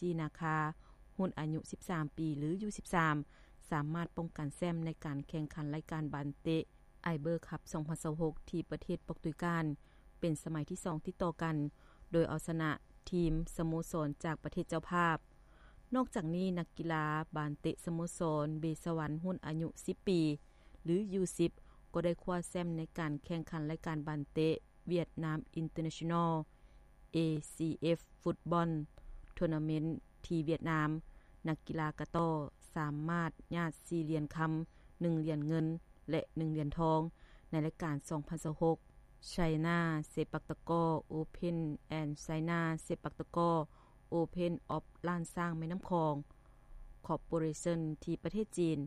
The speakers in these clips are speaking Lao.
ຈີນາຄາ ຮຸ່ນອາຍຸ ສິບສາມ ປີ ຫຼື ຢູ ສິບສາມ ສາມາດປ້ອງກັນແຊ້ມໃນການແຂ່ງຂັນລາຍການບານເຕະ ໄອເບີຄັບ ສອງພັນຊາວຫົກ ທີ່ປະເທດປອກຕຸຍການ ເປັນສະໄໝທີສອງຕິດຕໍ່ກັນ ໂດຍເອົາຊະນະທີມສະໂມສອນຈາກປະເທດເຈົ້າພາບ. ນອກຈາກນີ້, ນັກກິລາບານເຕະສະໂມສອນເບສະຫວັນ ຮຸ່ນອາຍຸ ສິບ ປີ ຫຼື ຢູ ສິບ ກໍໄດ້ຄວ້າແຊ້ມໃນການແຂ່ງຂັນລາຍການບານເຕະ Vietnam International ເອ ຊີ ເອັຟ Football Tournament ທີ່ຫວຽດນາມ. ນັກກິລາກະຕໍ້ສາມາດຍາດ ສີ່ ຫຼຽນຄຳ, ໜຶ່ງ ຫຼຽນເງິນ ແລະ ໜຶ່ງ ຫຼຽນທອງ ໃນລາຍການ ສອງພັນຊາວຫົກ China Sepak Takraw Open and China Sepak Takraw Open of ລ້ານຊ້າງແມ່ນ້ຳຂອງ Corporation ທີ່ປະເທດຈີນ.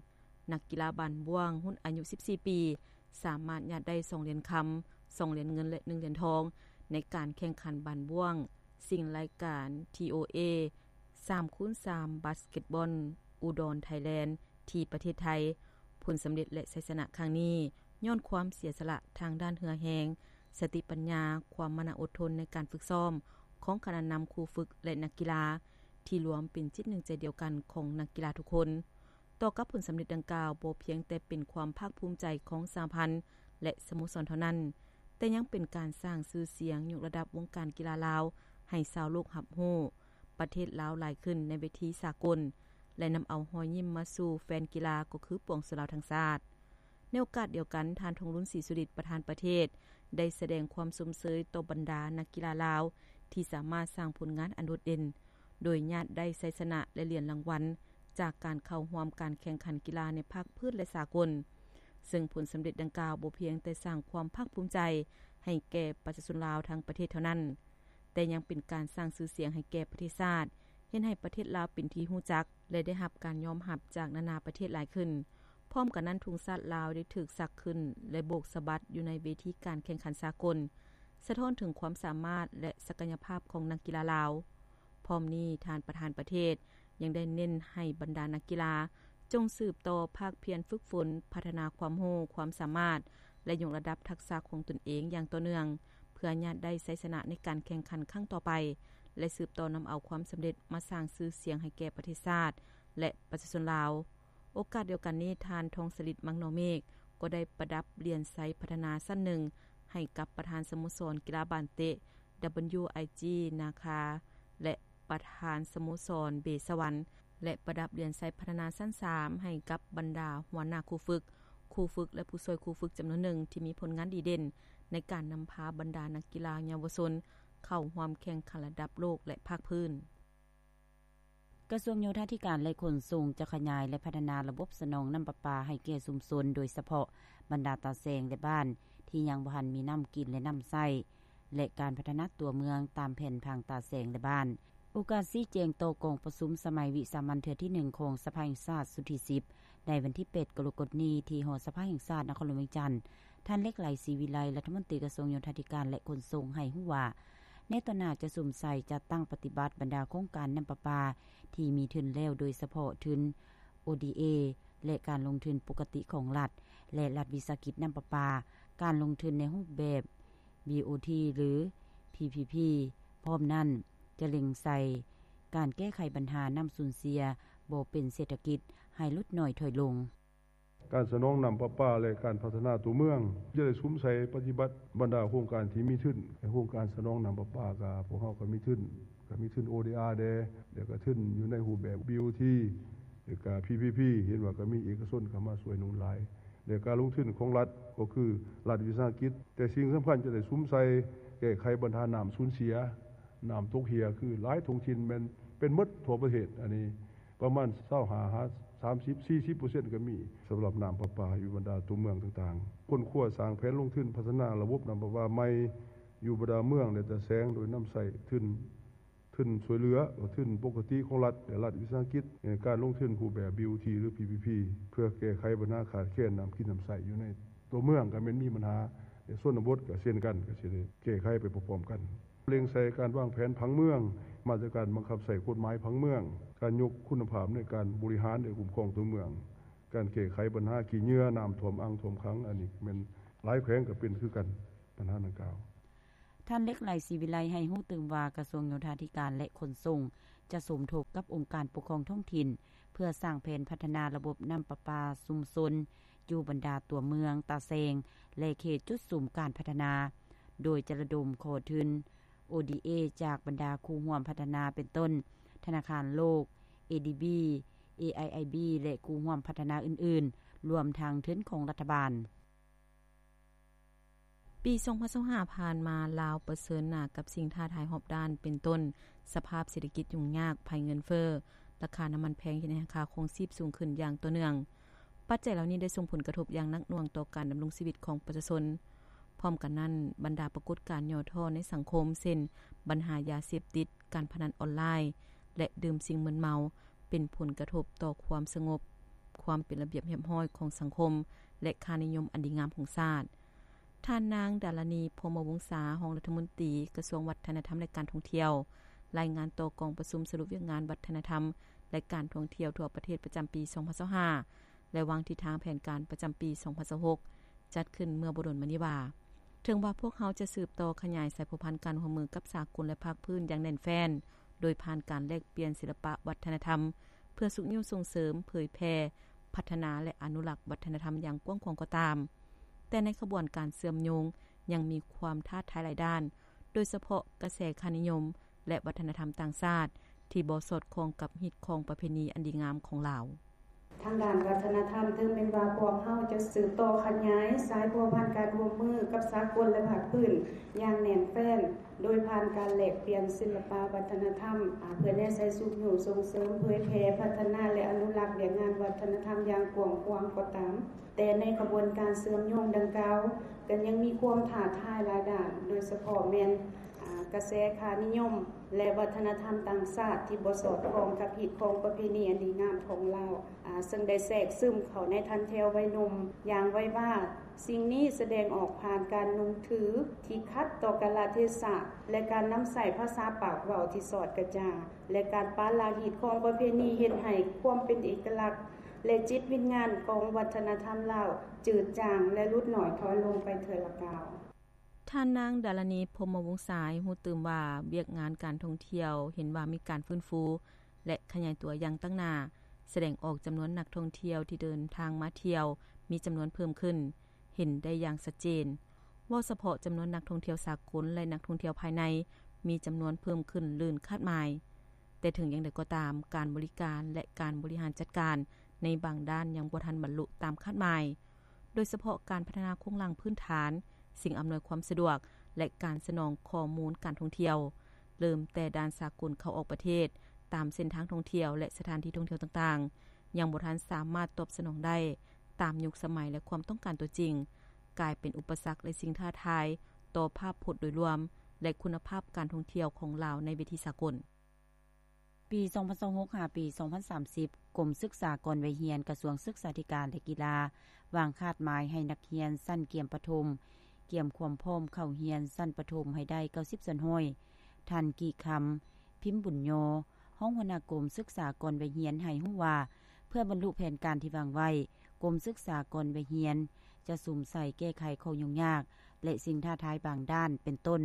ນັກກິລາບານບ້ວງຮຸ່ນອາຍຸ ສິບສີ່ ປີ ສາມາດຍາດໄດ້ ສອງ ຫຼຽນຄຳ, ສອງ ຫຼຽນເງິນ ແລະ ໜຶ່ງ ຫຼຽນທອງ ໃນການແຂ່ງຂັນບານບ້ວງຊິງລາຍການ ທີ ໂອ ເອ ສາມ ຄູນ ສາມ Basketball Udon Thailand ທີ່ປະເທດໄທ. ຜົນສຳເລັດ ແລະ ໄຊຊະນະຄັ້ງນີ້ ຍ້ອນຄວາມເສຍສະຫຼະທາງດ້ານເຫື່ອແຮງ, ສະຕິປັນຍາ, ຄວາມມານະອົດທົນໃນການຝຶກຊ້ອມຂອງຄະນະນຳ, ຄູຝຶກ ແລະ ນັກກິລາ ທີ່ລວມເປັນຈິດໜຶ່ງໃຈດຽວກັນຂອງນັກກິລາທຸກຄົນ. ຕໍ່ກັບຜົນສຳເລັດດັ່ງກ່າວ, ບໍ່ພຽງແຕ່ເປັນຄວາມພາກພູມໃຈຂອງສະຫະພັນ ແລະ ສະໂມສອນເທົ່ານັ້ນ, ແຕ່ຍັງເປັນການສ້າງຊື່ສຽງ, ຍົກລະດັບວົງການກິລາລາວໃຫ້ຊາວໂລກຮັບຮູ້, ປະເທດລາວຫຼາຍຂຶ້ນໃນເວທີສາກົນ ແລະ ນຳເອົາຮອຍຍິ້ມມາສູ່ແຟນກິລາ ກໍຄືປວງຊົນລາວທັງຊາດ. ໃນໂອກາດດຽວກັນ, ທ່ານ ທອງລຸນ ສີສຸລິດ ປະທານປະເທດ ໄດ້ສະແດງຄວາມຊົມເຊີຍຕໍ່ບັນດານັກກິລາລາວ ທີ່ສາມາດສ້າງຜົນງານອັນໂດດເດັ່ນ, ໂດຍຍາດໄດ້ໄຊຊະນະ ແລະ ຫຼຽນລາງວັນ ຈາກການເຂົ້າຮ່ວມການແຂ່ງຂັນກິລາໃນພາກພື້ນ ແລະ ສາກົນ, ເຊິ່ງຜົນສຳເລັດດັ່ງກ່າວບໍ່ພຽງແຕ່ສ້າງຄວາມພາກພູມໃຈໃຫ້ແກ່ປະຊາຊົນລາວທັງປະເທດເທົ່ານັ້ນ, ແຕ່ຍັງເປັນການສ້າງຊື່ສຽງໃຫ້ແກ່ປະເທດຊາດ, ເຮັດໃຫ້ປະເທດລາວເປັນທີ່ຮູ້ຈັກ ແລະ ໄດ້ຮັບການຍອມຮັບຈາກນານາປະເທດຫຼາຍຂຶ້ນ. ພ້ອມກັນນັ້ນ, ທຸງຊາດລາວໄດ້ຖືກສັກຂຶ້ນ ແລະ ໂບກສະບັດຢູ່ໃນເວທີການແຂ່ງຂັນສາກົນ, ສະທ້ອນເຖິງຄວາມສາມາດ ແລະ ສັກກະຍະພາບຂອງນັກກິລາລາວ. ພ້ອມນີ້, ທ່ານປະທານປະເທດຍັງໄດ້ເນັ້ນໃຫ້ບັນດານັກກິລາ ຈົ່ງສືບຕໍ່ພາກພຽນຝຶກຝົນ, ພັດທະນາຄວາມຮູ້ຄວາມສາມາດ ແລະ ຍົກລະດັບທັກສະຂອງຕົນເອງຢ່າງຕໍ່ເນື່ອງ, ເພື່ອຍາດໄດ້ໄຊຊະນະໃນການແຂ່ງຂັນຄັ້ງຕໍ່ໄປ ແລະ ສືບຕໍ່ນຳເອົາຄວາມສຳເລັດມາສ້າງຊື່ສຽງໃຫ້ແກ່ປະເທດຊາດ ແລະ ປະຊາຊົນລາວ. ໂອກາດດຽວກັນນີ້, ທ່ານ ທອງສະລິດ ມັງນໍເມກ ກໍໄດ້ປະດັບຫຼຽນໄຊພັດທະນາຊັ້ນໜຶ່ງໃຫ້ກັບປະທານສະໂມສອນກິລາບານເຕະ WIG ນາຄາ ແລະ ປະທານສະໂມສອນເບສະຫວັນ ແລະ ປະດັບຫຼຽນໄຊພັດທະນາຊັ້ນສາມໃຫ້ກັບບັນດາຫົວໜ້າຄູຝຶກ, ຄູຝຶກ ແລະ ຜູ້ຊ່ວຍຄູຝຶກຈຳນວນໜຶ່ງ ທີ່ມີຜົນງານດີເດັ່ນໃນການນຳພາບັນດານັກກິລາເຍົາວະຊົນເຂົ້າຮ່ວມແຂ່ງຂັນລະດັບໂລກ ແລະ ພາກພື້ນ. ກະຊວງໂຍທາທິການ ແລະ ຂົນສົ່ງ ຈະຂະຫຍາຍ ແລະ ພັດທະນາລະບົບສະໜອງນ້ຳປະປາໃຫ້ແກ່ຊຸມຊົນ, ໂດຍສະເພາະບັນດາຕາແສງ ແລະ ບ້ານທີ່ຍັງບໍ່ທັນມີນ້ຳກິນ ແລະ ນ້ຳໃຊ້ ແລະ ການພັດທະນາຕົວເມືອງຕາມແຜນຜັງຕາແສງ ແລະ ບ້ານ. ໂອກາດຊີ້ແຈງຕໍ່ກອງປະຊຸມສະໄໝວິສາມັນເທື່ອທີໜຶ່ງຂອງສະພາແຫ່ງຊາດຊຸດທີສິບ ໃນວັນທີແປດ ກໍລະກົດນີ້ ທີ່ຫໍສະພາແຫ່ງຊາດນະຄອນຫຼວງວຽງຈັນ, ທ່ານ ເລັກໄຫຼ ສີວິໄລ ລັດຖະມົນຕີກະຊວງໂຍທາທິການ ແລະ ຂົນສົ່ງ ໃຫ້ຮູ້ວ່າ ໃນຕໍ່ໜ້າຈະສຸມໃສ່ຈັດຕັ້ງປະຕິບັດບັນດາໂຄງການນ້ຳປະປາທີ່ມີທຶນແລ້ວ, ໂດຍສະເພາະທຶນ ໂອ ດີ ເອ ແລະ ການລົງທຶນປົກກະຕິຂອງລັດ ແລະ ລັດວິສາຫະກິດນ້ຳປະປາ, ການລົງທຶນໃນຮູບແບບ ບີ ໂອ ທີ ຫຼື ພີ ພີ ພີ ພ້ອມນັ້ນຈະເລັງໃສ່ການແກ້ໄຂບັນຫານ້ຳສູນເສຍບໍ່ເປັນເສດຖະກິດໃຫ້ຫຼຸດໜ້ອຍຖອຍລົງ. ການສະໜອງນ້ຳປະປາ ແລະ ການພັດທະນາຕົວເມືອງ ຈະໄດ້ສຸມໃສ່ປະຕິບັດບັນດາໂຄງການທີ່ມີທຶນ. ໃນໂຄງການສະໜອງນ້ຳປະປາ ກະພວກເຮົາກະມີທຶນ, ກະມີທຶນ ໂອ ດີ ອາ ແດ່ ແລ້ວກະທຶນຢູ່ໃນຮູບແບບ ບີ ໂອ ທີ ແລ້ວກະ ພີ ພີ ພີ ເຫັນວ່າກະມີເອກະຊົນເຂົ້າມາຊ່ວຍໜູນຫຼາຍ ແລະ ການລົງທຶນຂອງລັດ ກໍຄືລັດວິສາຫະກິດ, ແຕ່ສິ່ງສຳຄັນຈະໄດ້ສຸມໃສ່ແກ້ໄຂບັນຫານ້ຳສູນເສຍ, ນ້ຳຕົກເຮ່ຍ ຄືຫຼາຍທ້ອງຖິ່ນແມ່ນເປັນໝົດທົ່ວປະເທດ. ອັນນີ້ປະມານຊາວຫ້າຫາສາມສິບ ສີ່ສິບເປີເຊັນກະມີ ສຳລັບນ້ຳປະປາຢູ່ບັນດາຕົວເມືອງຕ່າງໆ. ຄົ້ນຄວ້າສ້າງແຜນລົງທຶນພັດທະນາລະບົບນ້ຳປະປາໃໝ່ຢູ່ບັນດາເມືອງ ແລະ ຕາແສງ ໂດຍນຳໃຊ້ທຶນ ທຶນຊ່ວຍເຫຼືອ ແລະ ທຶນປົກກະຕິຂອງລັດ ແລະ ລັດວິສາຫະກິດ, ການລົງທຶນຮູບແບບ ບີ ໂອ ທີ ຫຼື ພີ ພີ ພີ ເພື່ອແກ້ໄຂບັນຫາຂາດແຄນນ້ຳກິນນ້ຳໃຊ້ຢູ່ໃນຕົວເມືອງ ກະແມ່ນມີບັນຫາ, ແລະ ຊົນນະບົດກະເຊັ່ນກັນ ກະຊິໄດ້ແກ້ໄຂໄປພ້ອມໆກັນ. ເລັ່ງໃສ່ການວາງແຜນຜັງເມືອງ, ມາດຕະການບັງຄັບໃຊ້ກົດໝາຍຜັງເມືອງ, ການຍົກຄຸນນະພາບໃນການບໍລິຫານ ແລະ ຄຸ້ມຄອງຕົວເມືອງ, ການແກ້ໄຂບັນຫາຂີ້ເຫຍື້ອ, ນ້ຳຖ້ວມອ່າງ, ຖ້ວມຂັງ, ອັນນີ້ແມ່ນຫຼາຍແຂວງກະເປັນຄືກັນ ບັນຫາດັ່ງກ່າວ. ທ່ານ ເລັກໄຫຼ ສີວິໄລ ໃຫ້ຮູ້ຕື່ມວ່າ ກະຊວງໂຍທາທິການ ແລະ ຂົນສົ່ງ ຈະສົມທົບກັບອົງການປົກຄອງທ້ອງຖິ່ນ ເພື່ອສ້າງແຜນພັດທະນາລະບົບນ້ຳປະປາຊຸມຊົນ ຢູ່ບັນດາຕົວເມືອງ, ຕາແສງ ແລະ ເຂດຈຸດສຸມການພັດທະນາ, ໂດຍຈະລະດົມຂໍທຶນ ໂອດີເອ ຈາກບັນດາຄູ່ຮ່ວມພັດທະນາ ເປັນຕົ້ນ ທະນາຄານໂລກ, ເອດີບີ, ເອໄອໄອບີ ແລະ ຄູ່ຮ່ວມພັດທະນາອື່ນໆ, ລວມທັງທຶນຂອງລັດຖະບານ. ປີສອງພັນຊາວຫ້າຜ່ານມາ, ລາວປະເຊີນໜ້າກັບສິ່ງທ້າທາຍຮອບດ້ານ ເປັນຕົ້ນ ສະພາບເສດຖະກິດຫຍຸ້ງຍາກ, ໄພເງິນເຟີ້, ລາຄານ້ຳມັນແພງ ເຮັດໃຫ້ລາຄາຄອງຊີບສູງຂຶ້ນຢ່າງຕໍ່ເນື່ອງ. ປັດໄຈເຫຼົ່ານີ້ໄດ້ສົ່ງຜົນກະທົບຢ່າງໜັກໜ່ວງຕໍ່ການດຳລົງຊີວິດຂອງປະຊາຊົນ. ພ້ອມກັນນັ້ນ, ບັນດາປາກົດການຫຍໍ້ທໍ້ໃນສັງຄົມ ເຊັ່ນ ບັນຫາຢາເສບຕິດ, ການພະນັນອອນລາຍ ແລະ ດື່ມສິ່ງມຶນເມົາ ເປັນຜົນກະທົບຕໍ່ຄວາມສະຫງົບ, ຄວາມເປັນລະບຽບຮຽບຮ້ອຍຂອງສັງຄົມ ແລະ ຄ່ານິຍົມອັນດີງາມຂອງຊາດ. ທ່ານນາງ ດາລານີ ພົມມະວົງສາ, ຮອງລັດຖະມົນຕີກະຊວງວັດທະນະທຳ ແລະ ການທ່ອງທ່ຽວ, ລາຍງານຕໍ່ກອງປະຊຸມສະຫຼຸບວຽກງານວັດທະນະທຳ ແລະ ການທ່ອງທ່ຽວທົ່ວປະເທດປະຈຳປີສອງພັນຊາວຫ້າ ແລະ ວາງທິດທາງແຜນການປະຈຳປີສອງພັນຊາວຫົກ ຈັດຂຶ້ນເມື່ອບໍ່ດົນມານີ້ວ່າ, ເຖິງວ່າພວກເຮົາຈະສືບຕໍ່ຂະຫຍາຍສາຍພົວພັນການຮ່ວມມືກັບສາກົນ ແລະ ພາກພື້ນຢ່າງແໜ້ນແຟ້ນ ໂດຍຜ່ານການແລກປ່ຽນສິລະປະວັດທະນະທຳ ເພື່ອຊຸກຍູ້ສົ່ງເສີມ, ເຜີຍແຜ່, ພັດທະນາ ແລະ ອະນຸລັກວັດທະນະທຳຢ່າງກວ້າງຂວາງກໍຕາມ, ແຕ່ໃນຂະບວນການເຊື່ອມໂຍງຍັງມີຄວາມທ້າທາຍຫຼາຍດ້ານ, ໂດຍສະເພາະກະແສຄ່ານິຍົມ ແລະ ວັດທະນະທຳຕ່າງຊາດ ທີ່ບໍ່ສອດຄ່ອງກັບຮີດຄອງປະເພນີອັນດີງາມຂອງລາວ. ທາງດ້ານວັດທະນະທຳ, ເຖິງແມ່ນວ່າພວກເຮົາຈະສືບຕໍ່ຂະຫຍາຍສາຍພົວພັນການຮ່ວມມືກັບສາກົນ ແລະ ພາກພື້ນຢ່າງແໜ້ນແຟ້ນ ໂດຍຜ່ານການແລກປ່ຽນສິລະປະວັດທະນະທຳ ອາ ເພື່ອແນໃສ່ຊຸກຍູ້ສົ່ງເສີມ, ເຜີຍແຜ່, ພັດທະນາ ແລະ ອະນຸລັກວຽກງານວັດທະນະທຳຢ່າງກວ້າງຂວາງກໍຕາມ, ແຕ່ໃນຂະບວນການເຊື່ອມໂຍງດັ່ງກ່າວ ກໍຍັງມີຄວາມທ້າທາຍຫຼາຍດ້ານ, ໂດຍສະເພາະແມ່ນ ອາ ກະແສຄ່ານິຍົມ ແລະ ວັດທະນະທຳຕ່າງຊາດທີ່ບໍ່ສອດຄ່ອງກັບຮີດຄອງປະເພນີອັນດີງາມຂອງລາວ, ອາ ເຊິ່ງໄດ້ແຊກຊຶມເຂົ້າໃນຖັນແຖວໄວໜຸ່ມຢ່າງໄວວາ. ສິ່ງນີ້ສະແດງອອກຜ່ານການນຸ່ງຖືທີ່ຂັດຕໍ່ກາລະເທສະ ແລະ ການນຳໃຊ້ພາສາປາກເວົ້າທີ່ສອດກະຈາ, ແລະ ການປະລະຮີດຄອງປະເພນີເຮັດໃຫ້ຄວາມເປັນເອກະລັກ ແລະ ຈິດວິນຍານຂອງວັດທະນະທຳລາວຈືດຈາງ ແລະ ຫຼຸດໜ້ອຍຖອຍລົງໄປເທື່ອລະກ້າວ. ທ່ານນາງ ດາລານີ ພົມມະວົງສາ ໃຫ້ຮູ້ຕື່ມວ່າ ວຽກງານການທ່ອງທ່ຽວເຫັນວ່າມີການຟື້ນຟູ ແລະ ຂະຫຍາຍຕົວຢ່າງຕັ້ງໜ້າ, ສະແດງອອກຈຳນວນນັກທ່ອງທ່ຽວທີ່ເດີນທາງມາທ່ຽວມີຈຳນວນເພີ່ມຂຶ້ນ ເຫັນໄດ້ຢ່າງຊັດເຈນ. ເວົ້າສະເພາະຈຳນວນນັກທ່ອງທ່ຽວສາກົນ ແລະ ນັກທ່ອງທ່ຽວພາຍໃນ ມີຈຳນວນເພີ່ມຂຶ້ນເກີນຄາດໝາຍ. ແຕ່ເຖິງຢ່າງໃດກໍຕາມ, ການບໍລິການ ແລະ ການບໍລິຫານຈັດການໃນບາງດ້ານຍັງບໍ່ທັນບັນລຸຕາມຄາດໝາຍ, ໂດຍສະເພາະການພັດທະນາໂຄງລ່າງພື້ນຖານ, ສິ່ງອຳນວຍຄວາມສະດວກ ແລະ ການສະໜອງຂໍ້ມູນການທ່ອງທ່ຽວ, ເລີ່ມແຕ່ດ່ານສາກົນເຂົ້າອອກປະເທດ, ຕາມເສັ້ນທາງທ່ອງທ່ຽວ ແລະ ສະຖານທີ່ທ່ອງທ່ຽວຕ່າງໆ ຍັງບໍ່ທັນສາມາດຕອບສະໜອງໄດ້ຕາມຍຸກສະໄໝ ແລະ ຄວາມຕ້ອງການຕົວຈິງ, ກາຍເປັນອຸປະສັກ ແລະ ສິ່ງທ້າທາຍຕໍ່ພາບພົດໂດຍລວມ ແລະ ຄຸນນະພາບການທ່ອງທ່ຽວຂອງລາວໃນເວທີສາກົນ. ປີສອງພັນຊາວຫົກ ຫາ ປີສອງພັນສາມສິບ ກົມສຶກສາກ່ອນໄວຮຽນ ກະຊວງສຶກສາທິການ ແລະ ກິລາ ວາງຄາດໝາຍໃຫ້ນັກຮຽນຊັ້ນກຽມປະຖົມ ກຽມຄວາມພ້ອມເຂົ້າຮຽນຊັ້ນປະຖົມໃຫ້ໄດ້ເກົ້າສິບສ່ວນຮ້ອຍ. ທ່ານ ກີ່ຄຳ ພິມບຸນຍໍ ຮອງຫົວໜ້າກົມສຶກສາກ່ອນໄວຮຽນ ໃຫ້ຮູ້ວ່າ ເພື່ອບັນລຸແຜນການທີ່ວາງໄວ້, ກົມສຶກສາກ່ອນໄວຮຽນຈະສຸມໃສ່ແກ້ໄຂຂໍ້ຫຍຸ້ງຍາກ ແລະ ສິ່ງທ້າທາຍບາງດ້ານ ເປັນຕົ້ນ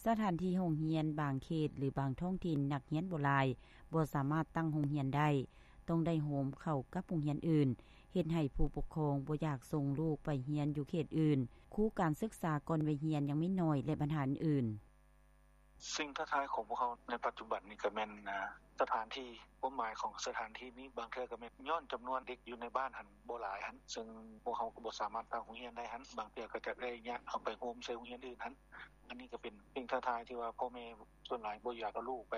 ສະຖານທີ່ໂຮງຮຽນບາງເຂດ ຫຼື ບາງທ້ອງຖິ່ນນັກຮຽນບໍ່ຫຼາຍ, ບໍ່ສາມາດຕັ້ງໂຮງຮຽນໄດ້, ຕ້ອງໄດ້ໂຮມເຂົ້າກັບໂຮງຮຽນອື່ນ, ເຮັດໃຫ້ຜູ້ປົກຄອງບໍ່ຢາກສົ່ງລູກໄປຮຽນຢູ່ເຂດອື່ນ, ຄູການສຶກສາກ່ອນໄວຮຽນຍັງມີໜ້ອຍ ແລະ ບັນຫາອື່ນໆ. ສິ່ງທ້າທາຍຂອງພວກເຮົາໃນປັດຈຸບັນນີ້ກໍແມ່ນ ສະຖານທີ່, ຄວາມໝາຍຂອງສະຖານທີ່ນີ້ ບາງເທື່ອກໍແມ່ນຍ້ອນຈຳນວນເດັກຢູ່ໃນບ້ານຫັ້ນບໍ່ຫຼາຍຫັ້ນ, ເຊິ່ງພວກເຮົາກໍບໍ່ສາມາດຕັ້ງໂຮງຮຽນໄດ້ຫັ້ນ, ບາງເທື່ອກໍຈະໄດ້ຍະເອົາໄປໂຮມໃສ່ໂຮງຮຽນອື່ນຫັ້ນ. ອັນນີ້ກໍເປັນສິ່ງທ້າທາຍທີ່ວ່າພໍ່ແມ່ສ່ວນຫຼາຍບໍ່ຢາກເອົາລູກໄປ,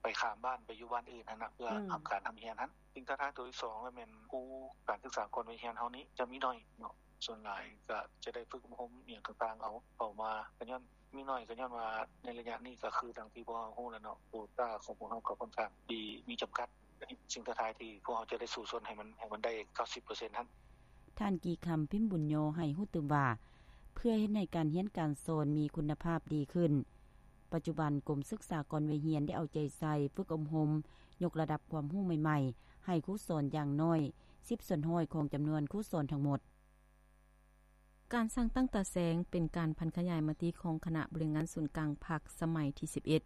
ໄປຂ້າມບ້ານໄປຢູ່ບ້ານອື່ນຫັ້ນນະ ເພື່ອ ອືມ ຮັບການຮ່ຳຮຽນຫັ້ນ. ສິ່ງທ້າທາຍຕົວທີສອງ ກໍແມ່ນຄູການສຶກສາກ່ອນໄວຮຽນເຮົານີ້ຈະມີໜ້ອຍເນາະ, ສ່ວນຫຼາຍກໍຈະໄດ້ຝຶກອົບຮົມອີ່ຫຍັງຕ່າງໆເອົາ ເຂົ້າມາກໍຍ້ອນມີໜ້ອຍ ກໍຍ້ອນວ່າໃນໄລຍະນີ້ກໍຄືດັ່ງທີ່ພວກເຮົາຮູ້ແລ້ວເນາະ, ໂຄຕ້າຂອງພວກເຮົາກໍຄ່ອນຂ້າງທີ່ມີຈຳກັດ. ສິ່ງທ້າທາຍທີ່ພວກເຮົາຈະໄດ້ສູ້ຊົນໃຫ້ມັນ, ໃຫ້ມັນໄດ້ເກົ້າສິບເປີເຊັນຫັ້ນ. ທ່ານ ກີ່ຄຳ ພິມບຸນຍໍ ໃຫ້ຮູ້ຕື່ມວ່າ ເພື່ອເຮັດໃຫ້ການຮຽນການສອນມີຄຸນນະພາບດີຂຶ້ນ, ປັດຈຸບັນກົມສຶກສາກ່ອນໄວຮຽນໄດ້ເອົາໃຈໃສ່ຝຶກອົບຮົມ ຍົກລະດັບຄວາມຮູ້ໃໝ່ໆ ໃຫ້ຄູສອນຢ່າງໜ້ອຍສິບສ່ວນຮ້ອຍຂອງຈຳນວນຄູສອນທັງໝົດ. ການສ້າງຕັ້ງຕາແສງ ເປັນການຜັນຂະຫຍາຍມະຕິຂອງຄະນະບໍລິຫານງານສູນກາງພັກສະໄໝທີສິບເອັດ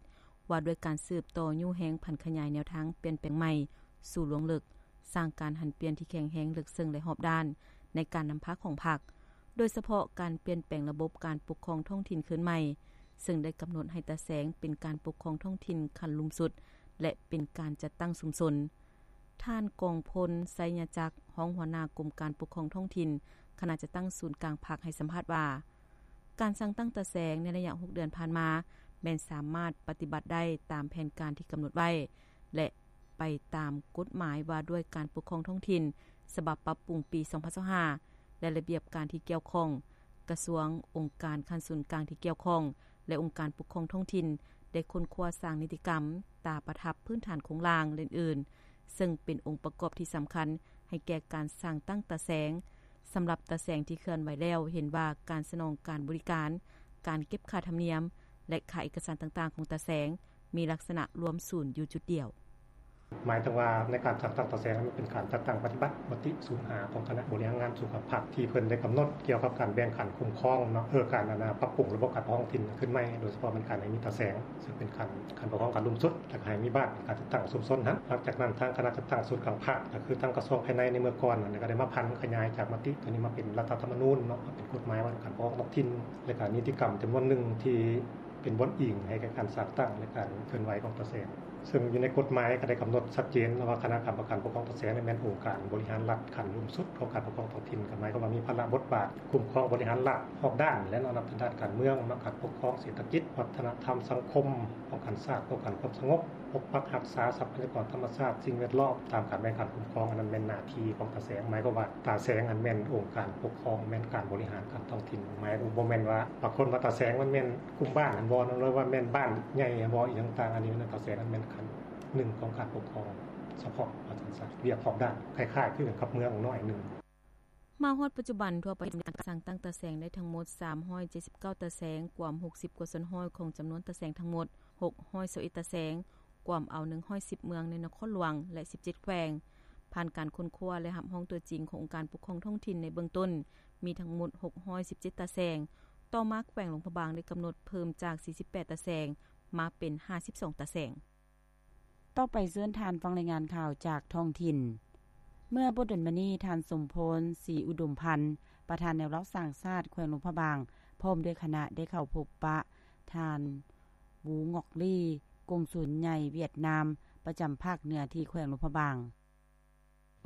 ວ່າດ້ວຍການສືບຕໍ່ຍູ້ແຮງຜັນຂະຫຍາຍແນວທາງປ່ຽນແປງໃໝ່ສູ່ລວງເລິກ, ສ້າງການຫັນປ່ຽນທີ່ແຂງແຮງເລິກເຊິ່ງ ແລະ ຮອບດ້ານໃນການນຳພາຂອງພັກ, ໂດຍສະເພາະການປ່ຽນແປງລະບົບການປົກຄອງທ້ອງຖິ່ນຄືນໃໝ່, ເຊິ່ງໄດ້ກຳນົດໃຫ້ຕາແສງເປັນການປົກຄອງທ້ອງຖິ່ນຂັ້ນລຸ່ມສຸດ ແລະ ເປັນການຈັດຕັ້ງຊຸມຊົນ. ທ່ານ ກອງພົນ ໄຊຍະຈັກ ຮອງຫົວໜ້າກົມການປົກຄອງທ້ອງຖິ່ນ ຄະນະຈັດຕັ້ງສູນກາງພັກ ໃຫ້ສຳພາດວ່າ ການສ້າງຕັ້ງຕາແສງໃນໄລຍະຫົກເດືອນຜ່ານມາ ແມ່ນສາມາດປະຕິບັດໄດ້ຕາມແຜນການທີ່ກຳນົດໄວ້ ແລະ ໄປຕາມກົດໝາຍວ່າດ້ວຍການປົກຄອງທ້ອງຖິ່ນ ສະບັບປັບປຸງປີສອງພັນຊາວຫ້າ ແລະ ລະບຽບການທີ່ກ່ຽວຂ້ອງ, ກະຊວງ, ອົງການຂັ້ນສູນກາງທີ່ກ່ຽວຂ້ອງ ແລະ ອົງການປົກຄອງທ້ອງຖິ່ນ ໄດ້ຄົ້ນຄວ້າສ້າງນິຕິກຳ, ຕາປະທັບພື້ນຖານໂຄງລ່າງ ແລະ ອື່ນໆ ເຊິ່ງເປັນອົງປະກອບທີ່ສຳຄັນໃຫ້ແກ່ການສ້າງຕັ້ງຕາແສງ. ສຳລັບຕາແສງທີ່ເຄື່ອນໄຫວແລ້ວ, ເຫັນວ່າການສະໜອງການບໍລິການ, ການເກັບຄ່າທຳນຽມ ແລະ ຄ່າເອກະສານຕ່າງໆຂອງຕາແສງ ມີລັກສະນະລວມສູນຢູ່ຈຸດດຽວ. ໝາຍເຖິງວ່າໃນການຈັດຕັ້ງຕາແສງນັ້ນ ມັນເປັນການຈັດຕັ້ງປະຕິບັດມະຕິສູນຫ້າຂອງຄະນະບໍລິຫານງານສູນກາງພັກ ທີ່ເພິ່ນໄດ້ກຳນົດກ່ຽວກັບການແບ່ງຂັ້ນຄຸ້ມຄອງເນາະ ເອີ ການ ອັນນ່າ ປັບປຸງລະບົບການປົກຄອງທ້ອງຖິ່ນຂຶ້ນໃໝ່ ໂດຍສະເພາະແມ່ນການໃຫ້ມີຕາແສງ ເຊິ່ງເປັນຂັ້ນ ຂັ້ນປົກຄອງຂັ້ນລຸ່ມສຸດ ແລ້ວກໍໃຫ້ມີບ້ານການຈັດຕັ້ງຊຸມຊົນຫັ້ນ. ຫຼັງຈາກນັ້ນ ທາງຄະນະຈັດຕັ້ງສູນກາງພັກ ກໍຄືທາງກະຊວງພາຍໃນໃນເມື່ອກ່ອນນັ້ນ ກໍໄດ້ມາຜັນຂະຫຍາຍຈາກມະຕິຕົວນີ້ມາເປັນລັດຖະທຳມະນູນເນາະ ເປັນກົດໝາຍວ່າດ້ວຍການປົກຄອງທ້ອງຖິ່ນ ແລະ ກໍນິຕິກຳຈຳນວນໜຶ່ງທີ່ ເປັນບ່ອນອີງໃຫ້ແກ່ການສ້າງຕັ້ງ ແລະ ການເຄື່ອນໄຫວຂອງຕາແສງ. ເຊິ່ງຢູ່ໃນກົດໝາຍກໍໄດ້ກຳນົດຊັດເຈນວ່າຄະນະກຳມະການປົກຄອງຕາແສງນີ້ແມ່ນອົງການບໍລິຫານລັດຂັ້ນລຸ່ມສຸດຂອງການປົກຄອງທ້ອງຖິ່ນ ກໍໝາຍຄວາມວ່າມີພາລະບົດບາດຄຸ້ມຄອງບໍລິຫານລັດຮອບດ້ານ ແລະ ເນາະ ນັບແຕ່ດ້ານການເມືອງເນາະ ການປົກຄອງ, ເສດຖະກິດ, ວັດທະນະທຳ, ສັງຄົມ, ປ້ອງກັນຊາດ, ປ້ອງກັນຄວາມສະຫງົບ, ປົກປັກຮັກສາຊັບພະຍາກອນທຳມະຊາດ, ສິ່ງແວດລ້ອມ, ຕາມການແບ່ງຂັ້ນຄຸ້ມຄອງ. ອັນນັ້ນແມ່ນໜ້າທີ່ຂອງຕາແສງ ໝາຍຄວາມວ່າຕາແສງຫັ້ນແມ່ນອົງການປົກຄອງ ແມ່ນການບໍລິຫານການທ້ອງຖິ່ນ ໝາຍບໍ່ແມ່ນວ່າບາງຄົນວ່າຕາແສງມັນແມ່ນກຸ່ມບ້ານຫັ້ນບໍ່ ຫຼືວ່າແມ່ນບ້ານໃຫຍ່ຫັ້ນບໍ່ອີ່ຫຍັງຕ່າງໆ ອັນນີ້ມັນຕາແສງມັນແມ່ນຂັ້ນໜຶ່ງຂອງການປົກຄອງສະເພາະວ່າຊັ້ນຊະ ວຽກຮອບດ້ານຄ້າຍໆຄືກັນກັບເມືອງໜ້ອຍໜຶ່ງ. ມາຮອດປັດຈຸບັນ ທົ່ວປະເທດມີການສ້າງຕັ້ງຕາແສງໄດ້ທັງໝົດສາມຮ້ອຍເຈັດສິບເກົ້າຕາແສງ ກວມຫົກສິບກວ່າສ່ວນຮ້ອຍຂອງຈຳນວນຕາແສງທັງໝົດຫົກຮ້ອຍຊາວເອັດຕາແສງ ກວມເອົາໜຶ່ງຮ້ອຍສິບເມືອງໃນນະຄອນຫຼວງ ແລະ ສິບເຈັດແຂວງ. ຜ່ານການຄົ້ນຄວ້າ ແລະ ຮັບຮອງຕົວຈິງຂອງອົງການປົກຄອງທ້ອງຖິ່ນໃນເບື້ອງຕົ້ນ ມີທັງໝົດຫົກຮ້ອຍສິບເຈັດຕາແສງ. ຕໍ່ມາແຂວງຫຼວງພະບາງໄດ້ກຳນົດເພີ່ມຈາກສີ່ສິບແປດຕາແສງ ມາເປັນຫ້າສິບສອງຕາແສງ. ຕໍ່ໄປເຊີນທ່ານຟັງລາຍງານຂ່າວຈາກທ້ອງຖິ່ນ. ເມື່ອບໍ່ດົນມານີ້ ທ່ານ ສົມພອນ ສີອຸດົມພັນ ປະທານແນວລາວສ້າງຊາດແຂວງຫຼວງພະບາງ ພ້ອມດ້ວຍຄະນະ ໄດ້ເຂົ້າພົບປະທ່ານ ວູ ງອກລີ ກົງສຸນໃຫຍ່ຫວຽດນາມ ປະຈຳພາກເໜືອທີ່ແຂວງຫຼວງພະບາງ.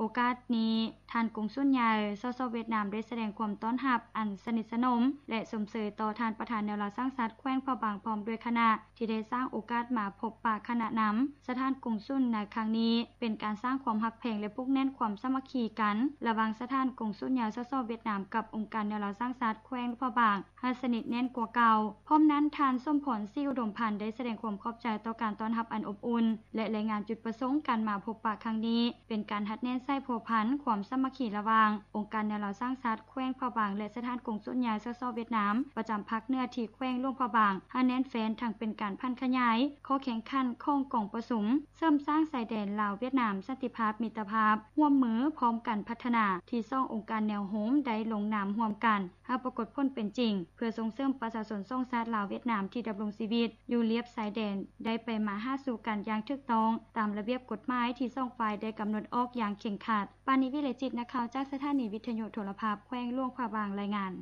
ໂອກາດນີ້ ທ່ານກົງສຸນໃຫຍ່ ສສ ຫວຽດນາມ ໄດ້ສະແດງຄວາມຕ້ອນຮັບອັນສະໜິດສະໜົມ ແລະ ຊົມເຊີຍຕໍ່ທ່ານປະທານແນວລາວສ້າງຊາດແຂວງພະບາງ ພ້ອມດ້ວຍຄະນະ ທີ່ໄດ້ສ້າງໂອກາດມາພົບປະຄະນະນຳສະຖານກົງສຸນໃນຄັ້ງນີ້ ເປັນການສ້າງຄວາມຮັກແພງ ແລະ ຜູກແໜ້ນຄວາມສາມັກຄີກັນ ລະຫວ່າງສະຖານກົງສຸນໃຫຍ່ ສສ ຫວຽດນາມ ກັບອົງການແນວລາວສ້າງຊາດແຂວງຫຼວງພະບາງ ໃຫ້ສະໜິດແໜ້ນກວ່າເກົ່າ. ພ້ອມນັ້ນ ທ່ານ ສົມພອນ ສີອຸດົມພັນ ໄດ້ສະແດງຄວາມຂອບໃຈຕໍ່ການຕ້ອນຮັບອັນອົບອຸ່ນ ແລະ ລາຍງານຈຸດປະສົງການມາພົບປະຄັ້ງນີ້ ເປັນການຮັດແໜ້ນສາຍພົວພັນຄວາມສາມັກຄີລະຫວ່າງອົງການແນວລາວສ້າງຊາດແຂວງພະບາງ ແລະ ສະຖານກົງສຸນໃຫຍ່ ສສ ຫວຽດນາມ ປະຈຳພາກເໜືອທີ່ແຂວງຫຼວງພະບາງ ໃຫ້ແໜ້ນແຟ້ນ ທັງເປັນການຜັນຂະຫຍາຍຂໍ້ແຂ່ງຂັນຂອງກອງປະຊຸມ ເສີມສ້າງຊາຍແດນລາວ-ຫວຽດນາມ ສັນຕິພາບມິດຕະພາບ ຮ່ວມມືພ້ອມກັນພັດທະນາ ທີ່ສອງອົງການແນວໂຮມໄດ້ລົງນາມຮ່ວມກັນ ໃຫ້ປາກົດຜົນເປັນຈິງ ເພື່ອສົ່ງເສີມປະຊາຊົນສອງຊາດລາວ-ຫວຽດນາມ ທີ່ດຳລົງຊີວິດຢູ່ລຽບຊາຍແດນ ໄດ້ໄປມາຫາສູ່ກັນຢ່າງຖືກຕ້ອງ ຕາມລະບຽບກົດໝາຍທີ່ສອງຝ່າຍໄດ້ກຳນົດອອກຢ່າງເຄັ່ງຄັດ. ປານີ ວິໄລຈິດ ນັກຂ່າວຈາກສະຖານີວິທະຍຸໂທລະພາບແຂວງຫຼວງພະບາງ ລາຍງານ.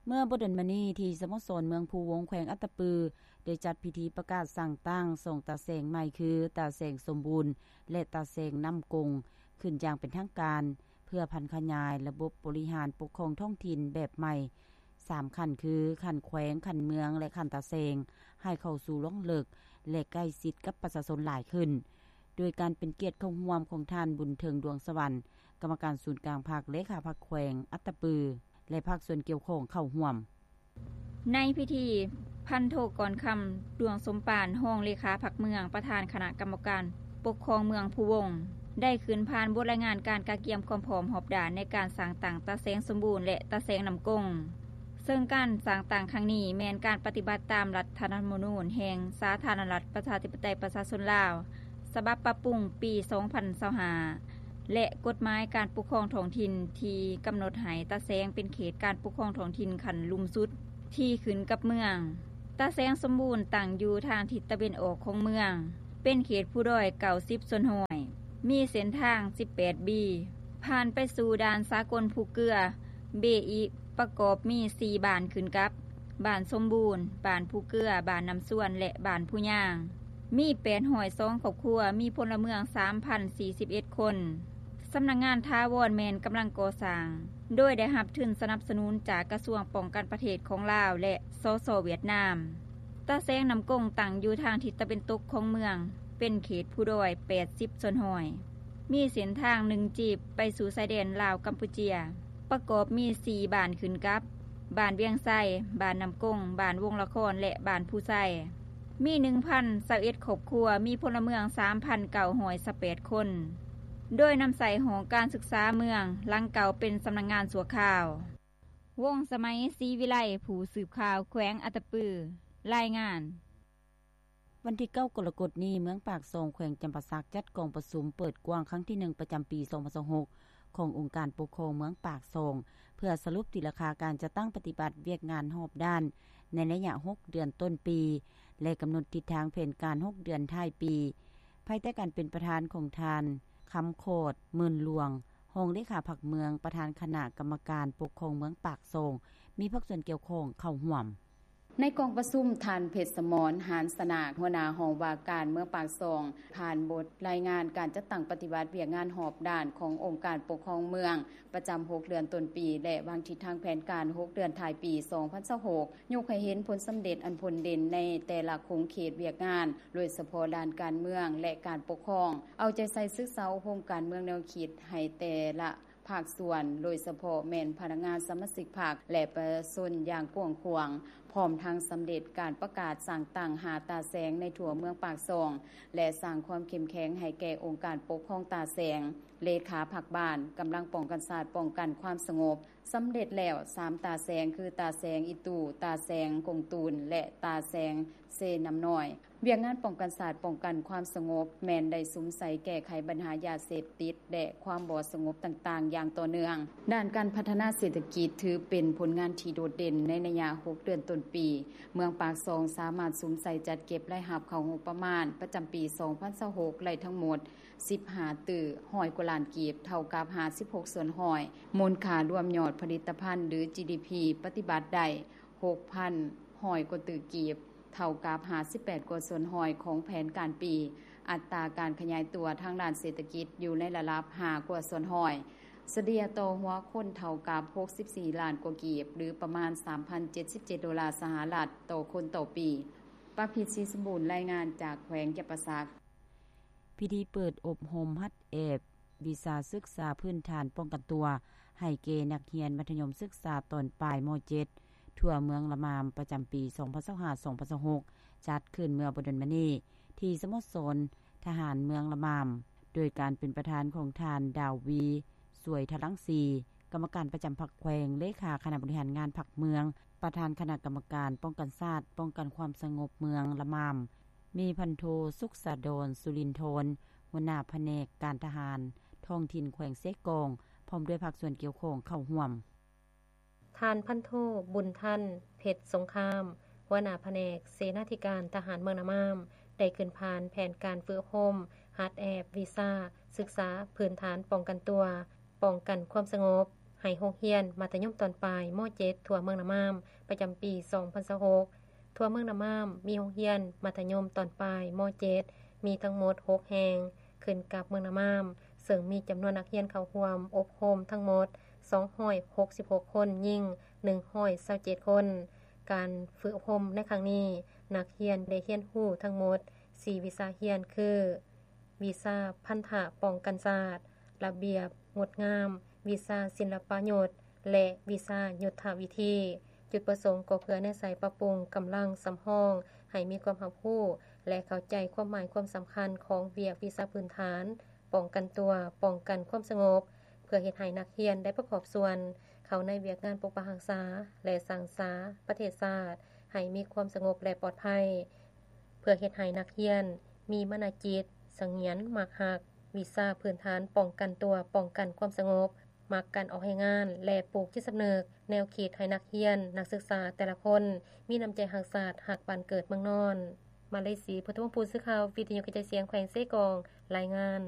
ເມື່ອບໍ່ດົນມານີ້ ທີ່ສະໂມສອນເມືອງພູວົງ ແຂວງອັດຕະປື ໄດ້ຈັດພິທີປະກາດສ້າງຕັ້ງສອງຕາແສງໃໝ່ ຄື ຕາແສງສົມບູນ ແລະ ຕາແສງນ້ຳກົງ ຂຶ້ນຢ່າງເປັນທາງການ ເພື່ອຜັນຂະຫຍາຍລະບົບບໍລິຫານປົກຄອງທ້ອງຖິ່ນແບບໃໝ່ສາມຂັ້ນ ຄື ຂັ້ນແຂວງ, ຂັ້ນເມືອງ ແລະ ຂັ້ນຕາແສງ ໃຫ້ເຂົ້າສູ່ລວງເລິກ ແລະ ໃກ້ຊິດກັບປະຊາຊົນຫຼາຍຂຶ້ນ ໂດຍການເປັນກຽດເຂົ້າຮ່ວມຂອງທ່ານ ບຸນເຖິງ ດວງສະຫວັນ ກຳມະການສູນກາງພັກ, ເລຂາພັກແຂວງອັດຕະປື ແລະ ພາກສ່ວນກ່ຽວຂ້ອງເຂົ້າຮ່ວມ. ໃນພິທີ ພັນໂທ ກອນຄຳ ດວງສົມປານ ຮອງເລຂາພັກເມືອງ, ປະທານຄະນະກຳມະການປົກຄອງເມືອງພູວົງ ໄດ້ຂຶ້ນຜ່ານບົດລາຍງານການກະກຽມຄວາມພ້ອມຮອບດ້ານໃນການສ້າງຕັ້ງຕາແສງສົມບູນ ແລະ ຕາແສງນ້ຳກົງ. ເຊິ່ງການສ້າງຕັ້ງຄັ້ງນີ້ ແມ່ນການປະຕິບັດຕາມລັດຖະທຳມະນູນແຫ່ງສາທາລະນະລັດ ປະຊາທິປະໄຕ ປະຊາຊົນລາວ ສະບັບປັບປຸງປີສອງພັນຊາວຫ້າ ແລະ ກົດໝາຍການປົກຄອງທ້ອງຖິ່ນ ທີ່ກຳນົດໃຫ້ຕາແສງເປັນເຂດການປົກຄອງທ້ອງຖິ່ນຂັ້ນລຸ່ມສຸດ ທີ່ຂຶ້ນກັບເມືອງ. ຕາແສງສົມບູນຕັ້ງຢູ່ທາງທິດຕາເວັນອອກຂອງເມືອງ, ເປັນເຂດພູດອຍ 90% ມີເສັ້ນທາງ 18 ບີ ຜ່ານໄປສູ່ດ່ານສາກົນພູເກືອ ເບອີ ປະກອບມີ 4 ບ້ານຂຶ້ນກັບ ບ້ານສົມບູນ, ບ້ານພູເກືອ, ບ້ານນ້ຳຊວນ ແລະ ບ້ານພູຍາງ, ມີ 802 ຄອບຄົວ, ມີພົນລະເມືອງ 3,041 ຄົນ. ສຳນັກງານຖາວອນແມ່ນກຳລັງກໍ່ສ້າງ, ໂດຍໄດ້ຮັບທຶນສະໜັບສະໜູນຈາກກະຊວງປ້ອງກັນປະເທດຂອງລາວ ແລະ ສສ ຫວຽດນາມ. ຕາແສງນ້ຳກົງຕັ້ງຢູ່ທາງທິດຕາເວັນຕົກຂອງເມືອງ, ເປັນເຂດພູດອຍ 80% ມີເສັ້ນທາງ 1 ຈີບ ໄປສູ່ຊາຍແດນລາວ-ກຳປູເຈຍ, ປະກອບມີ 4 ບ້ານຂຶ້ນກັບ ບ້ານວຽງໄຊ, ບ້ານນ້ຳກົງ, ບ້ານວົງລະຄອນ ແລະ ບ້ານພູໄຊ. ມີ 1,021 ຄອບຄົວ, ມີພົນລະເມືອງ 3,928 ຄົນ, ໂດຍນຳໃຊ້ຫ້ອງການສຶກສາເມືອງຫຼັງເກົ່າເປັນສຳນັກງານຊົ່ວຄາວ. ວົງສະໄໝ ສີວິໄລ, ຜູ້ສືບຂ່າວແຂວງອັດຕະປື, ລາຍງານ. ວັນທີ 9 ກໍລະກົດນີ້, ເມືອງປາກຊ່ອງ ແຂວງຈຳປາສັກ ຈັດກອງປະຊຸມເປີດກວ້າງຄັ້ງທີ 1 ປະຈຳປີ 2026 ຂອງອົງການປົກຄອງເມືອງປາກຊ່ອງ ເພື່ອສະຫຼຸບຕີລາຄາການຈັດຕັ້ງປະຕິບັດວຽກງານຮອບດ້ານໃນໄລຍະ 6 ເດືອນຕົ້ນປີ ແລະ ກຳນົດທິດທາງແຜນການ 6 ເດືອນທ້າຍປີ ພາຍໃຕ້ການເປັນປະທານຂອງທ່ານ ຄຳຂອດ ໝື່ນຫຼວງ ຮອງເລຂາພັກເມືອງ, ປະທານຄະນະກຳມະການປົກຄອງເມືອງປາກຊ່ອງ, ມີພາກສ່ວນກ່ຽວຂ້ອງເຂົ້າຮ່ວມ. ໃນກອງປະຊຸມ, ທ່ານ ເພັດສະໝອນ ຫານສະໜາກ, ຫົວໜ້າຫ້ອງວ່າການເມືອງປາກຊ່ອງ ຜ່ານບົດລາຍງານການຈັດຕັ້ງປະຕິບັດວຽກງານຮອບດ້ານຂອງອົງການປົກຄອງເມືອງ ປະຈຳ 6 ເດືອນຕົ້ນປີ ແລະ ວາງທິດທາງແຜນການ 6 ເດືອນທ້າຍປີ 2026, ຍົກໃຫ້ເຫັນຜົນສຳເລັດອັນພົ້ນເດັ່ນໃນແຕ່ລະຂົງເຂດວຽກງານ, ໂດຍສະເພາະດ້ານການເມືອງ ແລະ ການປົກຄອງ, ເອົາໃຈໃສ່ສຶກສາອົບຮົມການເມືອງແນວຄິດໃຫ້ແຕ່ລະ ພາກສ່ວນ, ໂດຍສະເພາະແມ່ນພະນັກງານ, ສະມາຊິກພັກ ແລະ ປະຊາຊົນຢ່າງກວ້າງຂວາງ, ພ້ອມທັງສຳເລັດການປະກາດສ້າງຕັ້ງ 5 ຕາແສງໃນທົ່ວເມືອງປາກຊ່ອງ ແລະ ສ້າງຄວາມເຂັ້ມແຂງໃຫ້ແກ່ອົງການປົກຄອງຕາແສງ, ເລຂາພັກບ້ານ, ກຳລັງປ້ອງກັນຊາດ, ປ້ອງກັນຄວາມສະຫງົບ. ສຳເລັດແລ້ວ 3 ຕາແສງ ຄື ຕາແສງອີຕູ, ຕາແສງກົງຕູນ ແລະ ຕາແສງເຊນ້ຳນ້ອຍ. ວຽກງານປ້ອງກັນຊາດ, ປ້ອງກັນຄວາມສະຫງົບ ແມ່ນໄດ້ສຸມໃສ່ແກ້ໄຂບັນຫາຢາເສບຕິດ ແລະ ຄວາມບໍ່ສະຫງົບຕ່າງໆຢ່າງຕໍ່ເນື່ອງ. ດ້ານການພັດທະນາເສດຖະກິດ ຖືເປັນຜົນງານທີ່ໂດດເດັ່ນໃນໄລຍະ 6 ເດືອນຕົ້ນປີ. ເມືອງປາກຊ່ອງສາມາດສຸມໃສ່ຈັດເກັບລາຍຮັບເຂົ້າງົບປະມານປະຈຳປີ 2026 ໄດ້ທັງໝົດ 15 ຕື້ 100 ກວ່າລ້ານກີບ, ເທົ່າກັບ 56% ມູນຄ່າລວມຍອດຜະລິດຕະພັນ ຫຼື GDP ປະຕິບັດໄດ້ 6,100 ກວ່າຕື້ກີບ, ເທົ່າກັບ 58% ຂອງແຜນການປີ. ອັດຕາການຂະຫຍາຍຕົວທາງດ້ານເສດຖະກິດຢູ່ໃນລະດັບ 5 ກວ່າສ່ວນຮ້ອຍ, ສະເລ່ຍຕໍ່ຫົວຄົນເທົ່າກັບ 64 ລ້ານກວ່າກີບ ຫຼື ປະມານ 3,077 ໂດລາສະຫະລັດຕໍ່ຄົນຕໍ່ປີ. ປະພິດ ສີສົມບູນ ລາຍງານຈາກແຂວງຈຳປາສັກ. ພິທີເປີດອົບຮົມຫັດແອບວິຊາສຶກສາພື້ນຖານປ້ອງກັນຕົວ ໃຫ້ແກ່ນັກຮຽນມັດທະຍົມສຶກສາຕອນປາຍ ມ.ເຈັດ ທົ່ວເມືອງລະມາມ ປະຈຳປີ 2025-2026 ຈັດຂຶ້ນເມື່ອບໍ່ດົນມານີ້ ທີ່ສະໂມສອນທະຫານເມືອງລະມາມ ໂດຍການເປັນປະທານຂອງທ່ານ ດາວວີ ສວຍທະລັງສີ ກຳມະການປະຈຳພັກແຂວງ, ເລຂາຄະນະບໍລິຫານງານພັກເມືອງ, ປະທານຄະນະກຳມະການປ້ອງກັນຊາດ, ປ້ອງກັນຄວາມສະຫງົບເມືອງລະມາມ, ມີພັນໂທ ສຸກສາດອນ ສຸລິນທອນ ຫົວໜ້າພະແນກການທະຫານທ້ອງຖິ່ນແຂວງເຊກອງ ພ້ອມດ້ວຍພາກສ່ວນກ່ຽວຂ້ອງເຂົ້າຮ່ວມ. ທ່ານພັນໂທ ບຸນທັນ ເພັດສົງຄາມ ຫົວໜ້າພະແນກເສນາທິການທະຫານເມືອງນາມາມ ໄດ້ຂຶ້ນຜ່ານແຜນການຝຶກອົບຮົມຫັດແອບວິຊາສຶກສາພື້ນຖານປ້ອງກັນຕົວ, ປ້ອງກັນຄວາມສະຫງົບ ໃຫ້ໂຮງຮຽນມັດທະຍົມຕອນປາຍ ມ.ເຈັດ ທົ່ວເມືອງນາມາມ ປະຈຳປີ 2026. ທົ່ວເມືອງນາມາມ ມີໂຮງຮຽນມັດທະຍົມຕອນປາຍ ມ.ເຈັດ ມີທັງໝົດ ຫົກ ແຫ່ງ ຂຶ້ນກັບເມືອງນາມາມ, ເຊິ່ງມີຈຳນວນນັກຮຽນເຂົ້າຮ່ວມອົບຮົມທັງໝົດ 266 ຄົນ, ຍິງ 127 ຄົນ. ການຝຶກອົບຮົມໃນຄັ້ງນີ້, ນັກຮຽນໄດ້ຮຽນຮູ້ທັງໝົດ ສີ່ ວິຊາຮຽນ ຄື ວິຊາພັນທະປ້ອງກັນຊາດ, ລະບຽບງົດງາມ, ວິຊາສິນລະປະຍຸດ ແລະ ວິຊາຍຸດທະວິທີ. ຈຸດປະສົງກໍເພື່ອແນໃສ່ປັບປຸງກຳລັງສຳຮອງໃຫ້ມີຄວາມຮັບຮູ້ ແລະ ເຂົ້າໃຈຄວາມໝາຍຄວາມສຳຄັນຂອງວຽກວິຊາພື້ນຖານປ້ອງກັນຕົວ, ປ້ອງກັນຄວາມສະຫງົບ, ເພື່ອເຮັດໃຫ້ນັກຮຽນໄດ້ປະກອບສ່ວນເຂົ້າໃນວຽກງານປົກປັກຮັກສາ ແລະ ສ້າງສາປະເທດຊາດໃຫ້ມີຄວາມສະຫງົບ ແລະ ປອດໄພ, ເພື່ອເຮັດໃຫ້ນັກຮຽນມີມານະຈິດສະຫງຽນມັກຮັກ ວິຊາພື້ນຖານປ້ອງກັນຕົວ, ປ້ອງກັນຄວາມສະຫງົບ. ມັກການອອກແຮງງານ ແລະ ປູກຈິດສຳນຶກ ແນວຄິດໃຫ້ນັກຮຽນ, ນັກສຶກສາແຕ່ລະຄົນ ມີນ້ຳໃຈຮັກຊາດ, ຮັກບ້ານເກີດເມືອງນອນ. ມາເລສີ ພຸດທະວົງພູນ ສື່ຂ່າວວິທຍຸກະຈາຍສຽງແຂວງເຊກອງ ລາຍງານ.